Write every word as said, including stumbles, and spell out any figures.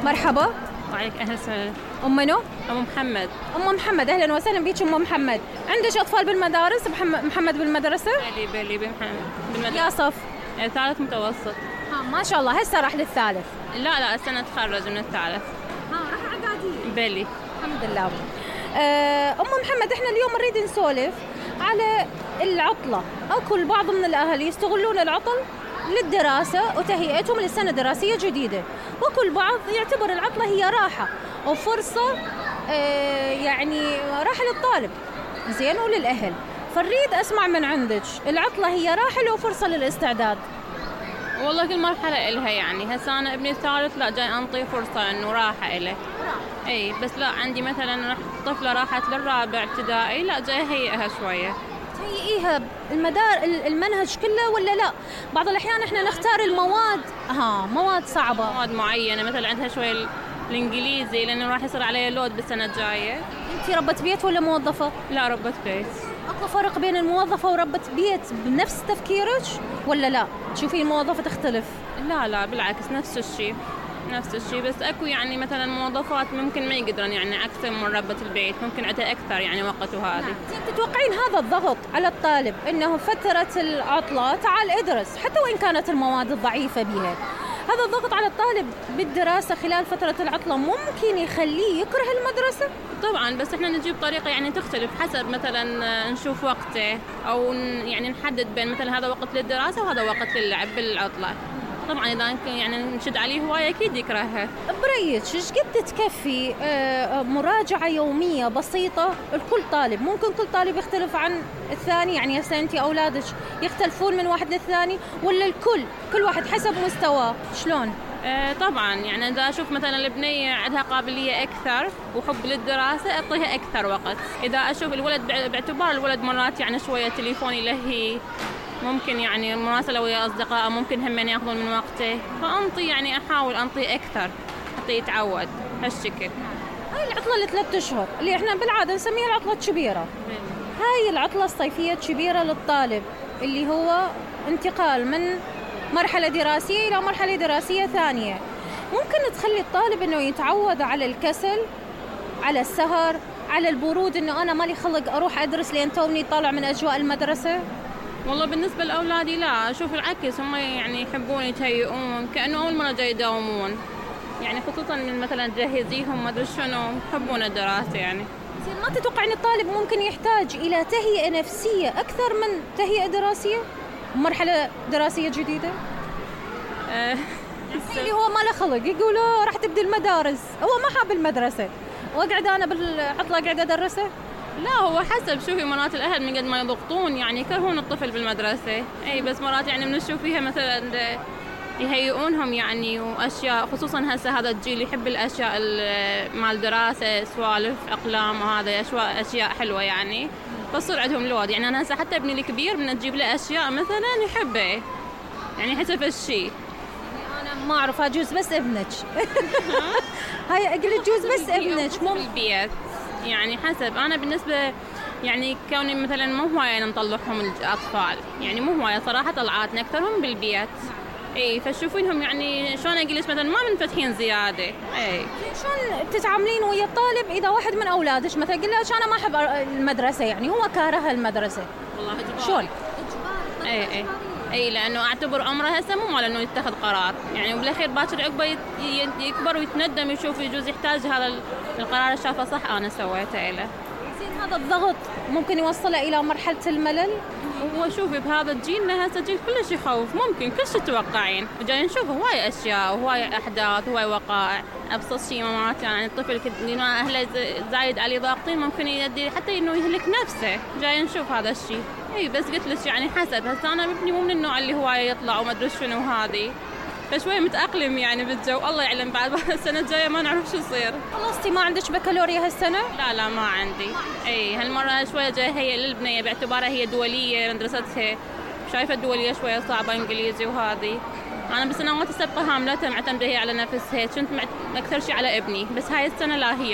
مرحبا. وعليك أهلا وسهلا. أم منو؟ أم محمد. أم محمد، أهلا وسهلا بيك أم محمد. عندك أطفال بالمدارس؟ محمد بالمدرسة؟ بلي بلي بمحمد بالمدرسة. يا صف؟ ثالث متوسط. ها ما شاء الله، هسه راح للثالث؟ لا لا السنة تخرج من الثالث. ها راح إعدادية؟ بلي. الحمد لله. أه أم محمد، إحنا اليوم نريد نسولف على العطلة. أكو البعض من الأهل يستغلون العطل للدراسة وتهيئتهم للسنة دراسية جديدة، وكل بعض يعتبر العطلة هي راحة وفرصة آه يعني راحة للطالب زين وللأهل. فنريد أسمع من عندك، العطلة هي راحة لو فرصة للاستعداد؟ والله كل مرحلة إلها، يعني هسه أنا ابني الثالث لا جاي أنطيه فرصة إنه راحة إله. أي بس لا عندي مثلا طفلة راحت للرابع ابتدائي لا جاي هيئها شوية. تهيئيها المدار المنهج كله ولا لا؟ بعض الأحيان إحنا نختار المواد ها مواد صعبة، مواد معينة مثلا عندها شوية الإنجليزي لأنه راح يصير عليه لود بالسنة الجاية. أنتي ربة بيت ولا موظفة؟ لا ربة بيت. أكو فرق بين الموظفة وربة بيت بنفس تفكيرك ولا لا؟ تشوفي الموظفة تختلف؟ لا لا بالعكس نفس الشيء نفس الشيء، بس اكو يعني مثلا موظفات ممكن ما يقدرن يعني اكثر من ربة البيت، ممكن عندها اكثر يعني وقت وهذه. نعم. تتوقعين هذا الضغط على الطالب انه فترة العطلة تعال ادرس حتى وان كانت المواد الضعيفة بها، هذا الضغط على الطالب بالدراسة خلال فترة العطلة ممكن يخليه يكره المدرسة؟ طبعا بس احنا نجيب طريقة يعني تختلف حسب مثلا نشوف وقته او يعني نحدد بين مثلا هذا وقت للدراسة وهذا وقت للعب بالعطلة. طبعا اذا يعني نشد عليه هوايه اكيد يكرهها. بريك ايش قد تكفي مراجعه يوميه بسيطه لكل طالب؟ ممكن كل طالب يختلف عن الثاني، يعني هسه انت اولادك يختلفون من واحد للثاني ولا الكل كل واحد حسب مستواه؟ شلون؟ آه طبعا يعني اذا اشوف مثلا البنيه عندها قابليه اكثر وحب للدراسه اعطيها اكثر وقت. اذا اشوف الولد باعتبار الولد مرات يعني شويه تليفون يلهي، ممكن يعني مراسلة ويا أصدقائه ممكن هم يأخذون من وقته، فأنطي يعني أحاول أنطي أكثر حتى يتعود هالشكل. هاي العطلة لثلاث أشهر اللي إحنا بالعادة نسميها العطلة الكبيرة، هاي العطلة الصيفية الكبيرة للطالب اللي هو انتقال من مرحلة دراسية إلى مرحلة دراسية ثانية، ممكن تخلي الطالب إنه يتعود على الكسل، على السهر، على البرود، إنه أنا مالي خلق أروح أدرس لين توني طالع من أجواء المدرسة. والله بالنسبة لأولادي لا، أشوف العكس، هم يعني يحبون يتهيئون كأنه أول مرة جاي يداومون، يعني خصوصا من مثلا تجهزيهم ما أدري شنو، يحبون الدراسة يعني. ما تتوقعين الطالب ممكن يحتاج إلى تهيئة نفسية أكثر من تهيئة دراسية؟ مرحلة دراسية جديدة؟ أه اللي هو ما له خلق يقول راح تبدي المدارس، هو ما حاب المدرسة وأقعد أنا بالعطلة قاعدة أدرسه. لا هو حسب، شوفي مرات الأهل من قد ما يضغطون يعني يكرهون الطفل بالمدرسة، أي بس مرات يعني بنشوف فيها مثلا يهيئونهم يعني وأشياء، خصوصا هسه هذا الجيل يحب الأشياء مال دراسة، سوالف أقلام وهذا أشياء أشياء حلوة يعني، فصير عندهم لود. يعني أنا هسه حتى ابني الكبير من تجيب له أشياء مثلا يحبه يعني حسب الشيء. أنا ما أعرف أجوز بس ابنك هاي أقول جوز بس ابنك مو بالبيت يعني حسب. أنا بالنسبة يعني كوني مثلا مو هواية نطلعهم الأطفال، يعني مو هواية صراحة طلعاتنا أكثرهم بالبيت، إيه فتشوفينهم يعني شلون أقولش مثلا ما منفتحين زيادة. إيه شلون تتعاملين ويا الطالب إذا واحد من أولادك مثلا قل له أنا ما أحب المدرسة، يعني هو كاره المدرسة؟ والله إجباري. شلون؟ إيه إيه اي لانه اعتبر عمره هسه مو مال انه يتخذ قرار، يعني وبالاخير باكر عقبه يكبر ويتندم يشوف يجوز يحتاج هذا القرار شافه صح انا سويته له. زين هذا الضغط ممكن يوصله الى مرحله الملل؟ هو شوفي بهذا جيلنا هسه جيل كلش يخوف، ممكن كل شيء تتوقعين، وجاي نشوف هواي اشياء وهواي احداث وهواي وقائع. ابسط شيء مرات يعني الطفل ما اهله زايد عليه ضاغطين ممكن يؤدي حتى انه يهلك نفسه، جاي نشوف هذا الشيء. اي بس قلت لك يعني حسب، هسه انا ابني مو من النوع اللي هواي يطلع وما ادري شنو هذه، فشوي متأقلم يعني بالجو، الله يعلم بعد السنة الجاية ما نعرف شو يصير. خلصتي ما عندك بكالوريا هالسنة؟ لا لا ما عندي. اي هالمرة شوية جاي هي للبنية باعتبارها هي دولية مدرستها، شايفة الدولية شوية صعبة انجليزي وهذه. انا بالسنوات السابقة هاملتها معتمدة هي على نفسها، كنت اكثر شيء على ابني، بس هاي السنة لا هي